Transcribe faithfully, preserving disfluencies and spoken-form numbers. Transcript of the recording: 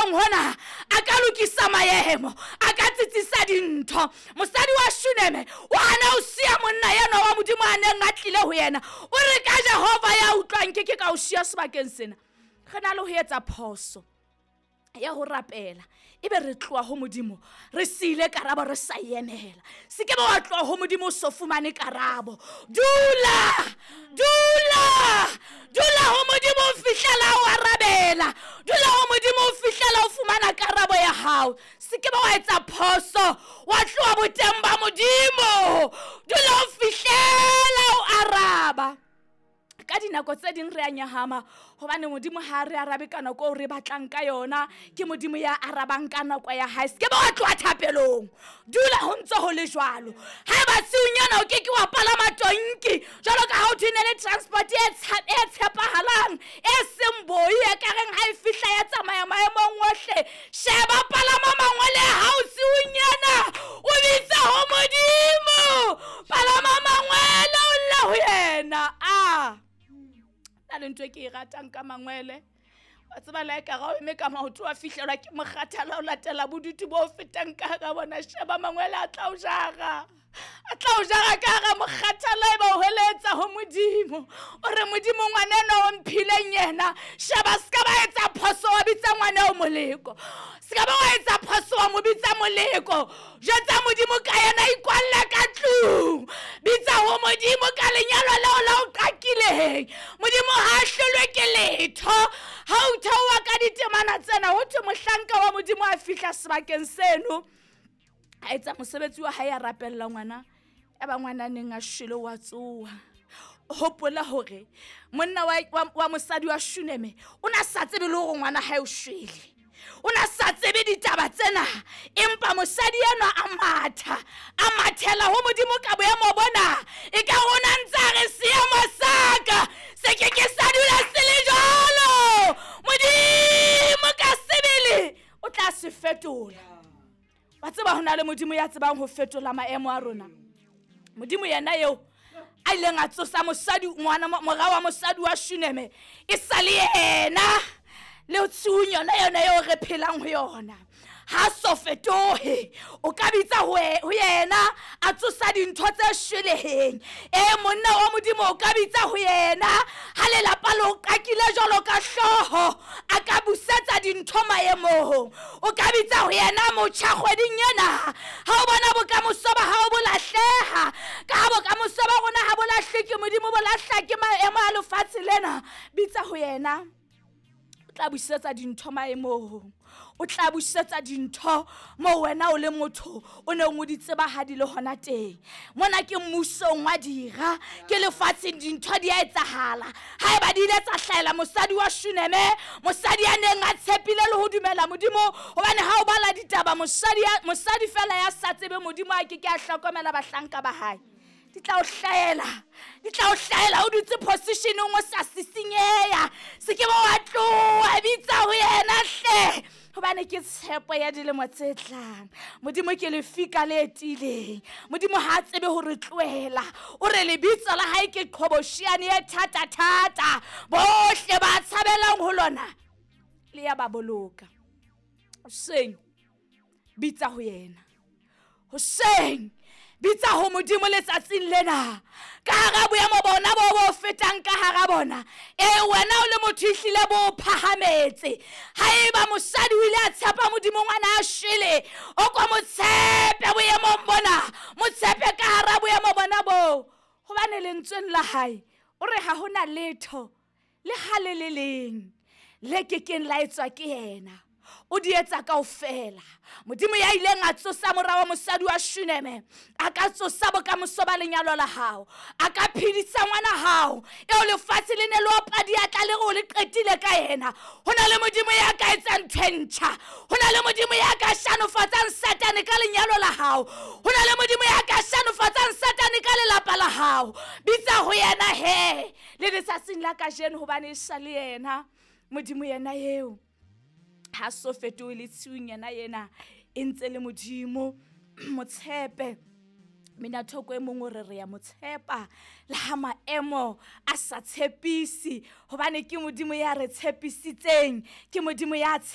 etsang hona, a ka lokisa maemo, a ka tsitsisa dintho. Mosadi wa Shuneme o hana ho siya monna enwa wa Modimo a neng a tlile ho yena. O re ka Jehova ya utlwang ke ke ka o siya sebakeng sena. Re na le ho etsa phoso ya ho rapela, ebe re tloha ho Modimo re siile karabo re sa emela. Se ke ba wa tloha ho Modimo o so fumane karabo. Dula, dula, dula ho Modimo o fihlela o arabela. Dula ho Modimo o fihlela o fumana karabo ya hao. Se ke ba wa etsa phoso wa tloha boteng ba Modimo. Dula o fihlela o araba. Ka dinako tse ding re a nyahama hobane Modimo ha re arabe ka nako eo re batlang ka yona. Ke Modimo ya arabang ka nako ya hae. Se ke ba wa tloha thapelong, dula ho ntse ho le jwalo. Haeba tshiunyana o ke ke wa palama tonki jwalo ka ha o thwe ne le transport e e tshepahalang, e seng boi, e ka reng ha e fihla ya tsamaya maemong ohle. Sheba palama mangwele a hao tshiunyana, o bitse ho Modimo. Palama mangwele o lle ho yena. Ah, na le ntho e ke e ratang ka mangwele, wa tseba le ka ga o eme ka maoto wa fihlelwa ke mokgathala o latela bodutu bo fetang ka hara bona. Sheba mangwele a tla o jara, a tla o jara ka hara mokgathala, e ba o heletsa ho Modimo. O re Modimo ngwana enwa o mphileng yena, sheba se ka ba etsa phoso wa bitsa ngwana eo moleko, se ka ba wa etsa phoso wa mo bitsa moleko. Jwetsa Modimo ka yena, ikwalle ka tlung, bitsa ho Modimo ka lenyalo leo la o qakileng. Modimo ha a hlolwe ke letho. Ha o theoha ka ditemana tsena, ho thwe mohlanka wa Modimo a fihla sebakeng seno, a etsa mosebetsi wa hae, a rapella ngwana. Ya ba ngwana neng a shwele wa tsoha. Hopola hore monna wa, wa, wa mosadi wa Shuneme o na sa tsebe le hore ngwana hae o shwele, o na sa tsebe ditaba tsena, empa mosadi enwa a matha, a mathela ho Modimo ka boemo bona. E ka rona ntse a re seemo sa ka se ke ke sa dula se le jwalo, Modimo ka sebele o tla se fetola. Wa tseba ho na le Modimo ya tsebang ho fetola maemo a rona. Modimo yena eo a ileng a tsosa mosadi ngwana mora wa mosadi wa Shuneme, e sa le yena le tshiung yona yona eo re phelang ho yona. Ha so fetohe, o ka bitsa ho yena a tsosa dintho tse shweleheng. E monna wa Modimo o ka bitsa ho yena ha lelapa le o qakile jwalo ka hlooho, a ka busetsa dintho maemong. O ka bitsa ho yena motjha kgweding ena, ha o bona bokamoso ba hao bo lahleha, ka ha bokamoso ba rona ha bo lahle ke Modimo, bo lahla ke maemo a lefatshe lena. Bitsa ho yena, o tla busetsa dintho maemong. O tla busetsa dintho moo wena o le motho o neng o di tseba ha di le hona teng. Mona ke mmusong wa dira, ke lefatsheng dintho di a etsahala. Haeba di ile tsa hlahela mosadi wa Shuneme, mosadi ya neng a tshepile le ho dumela Modimo, hobane ha o bala ditaba mosadi mosadi fela ya sa tsebe Modimo a ke ke a hlokomela bahlanka ba hae. Di tla o hlahela, di tla o hlahela o dutse positioneng o sa sisinyeya. Se ke ba wa tloha, bitsa ho yena hle, hobane ke tshepo ya dilemo tse tlang. Modimo ke lefika le tiileng. Modimo ha a tsebe ho re tlohela. O re lebitso la hae ke qhobosheane e thata-thata, bohle ba tshabelang ho lona le ya ba boloka. Hoseng bitsa ho yena, hoseng bitsa ho Modimo letsatsing lena. Ka hara boemo bona bo bo fetang ka hara bona, e wena o le motho ehlile bo phahametse. Haeba mosadi o ile a tshepa Modimo ngwana a shwele, o ko mo tshepe boemong bona, mo tshepe ka hara boemo bona bo. Hobane lentsweng la hae o re ha hona letho le ha le le leng le kekeng la etswa ke yena. O di etsa kaofela. Modimo ya ileng a tsosa mora wa mosadi wa Shuneme, a ka tsosa bokamoso ba lenyalo la hao, a ka phedisa ngwana hao eo lefatshe le ne le opa diatla le re o le qetile ka yena. Ho na le Modimo ya ka etsang ntho e ntjha. Ho na le Modimo ya ka shanofatsang Satane ka lenyalo la hao. Ho na le Modimo ya ka shanofatsang Satane ka lelapa la hao. Bitsa ho yena he le letsatsing la kajeno, hobane e sa le yena Modimo yena eo. Ha so fetohe le tshiung yena yena e ntse le Modimo. Motshepe. Mina thoko e mong o re re ya mo tshepa le ha maemo a sa tshepise, hobane ke Modimo ya re tshepisitseng, ke Modimo ya tshepa.